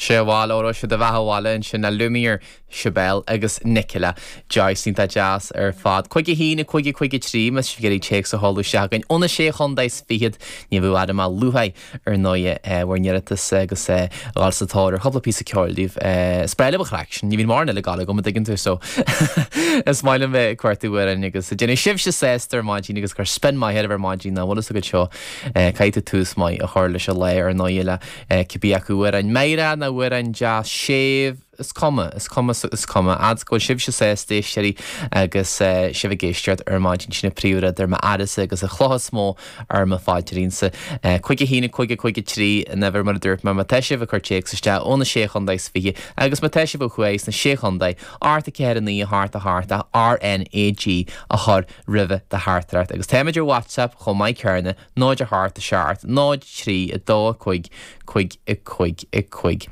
Sé bhail, óró sé do bheatha abhaile ansin a Lumiere, Sibéal agus Nicola Joyce. Iontach deas ar fad. 5 1 5 5 3 más sibh ag iarraidh téacs a sheoladh isteach chugainn óna sé chontae is fichead. Ní bheadh fhada má luaithe ar ndóighe bhur n-iarratas agus a dhul sa tóir ar chúpla píosa ceoil daoibh. Is breá liom an chraic sin. Ní bhíonn mórán eile ag gabháil agam, an dtuigeann tú, so is maith liom bheith ag cuartú amhráin agus ag déanamh sibhse sásta ar maidin agus ag cur spion maith oraibh ar maidin ná bhfuil fhios agat seo. Caithfidh tú tús maith a chur leis an lá ar ndóighe le cibé acu amhrán meidhreach nó amhrán deas séimh, is cuma, is cuma, is cuma. Fhad 's go bhfuil sibhse sásta, a éisteoirí, agus sibh ag éisteacht ar maidin, sin an príomhrud ar m'aireasa agus an chloch is mó ar mo phaidrín-sa. 5 1 5 5 3 an uimhir mar a dúirt mé, má tá sibh ag cur téacs isteach ó na Sé Chontae is Fiche agus má tá sibh ó thuaidh sna Sé Chontae, 8 4 9 8 8 RNAG a chur roimhe do theachtaireacht agus táimid ar WhatsApp chomh maith céanna, 0 8 7 0 3 2 5 5 5 5.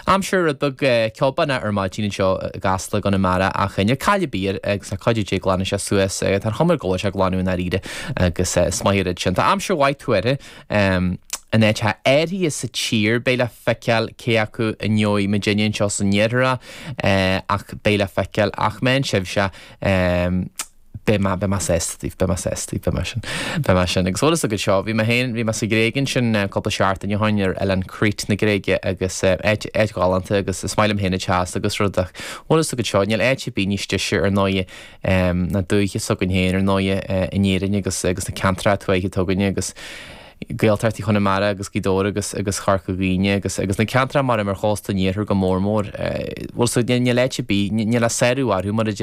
Aimsir rud beag ceobánach ar maidin anseo i gCasla i gConamara ach níor cailleadh ar bith air agus le cuidiú Dé glanfaidh sé suas. Tá an chuma air go bhfuil sé ag glanadh i ndáiríre agus is maith an rud sin. Tá aimsir mhaith tuartha in áiteacha áirithe sa tír. Beidh le feiceáil cé acu a ngeobhaidh muidinne anseo san iarthar é ach beidh le feiceáil. Ach meán sibhse Beidh mé, beidh mé sásta daoibh, beidh mé sásta daoibh, beidh mé sin, beidh mé sin. Agus bhfuil fhios agat seo, bhí mé féin, bhí mé sa Ghréig ansin cúpla seachtain ó shoin ar oileán Crete na Gréige agus áit, áit ghalánta agus is maith liom féin an teas agus rud ach bhfuil fhios agat seo, níl áit ar bith níos deise ar ndóighe ná dúiche s'againn féin ar ndóighe in Éirinn agus, agus na ceantracha tuaithe atá againne agus Gaeltachtaí Chonamara agus Gaoth Dobhair agus agus Chorca Dhuibhne agus agus na ceantracha mar ar chósta an iarthair go mór mór. Bhfuil fhios agat, níl áit ar bith, níl a sárú orthu mar a deir.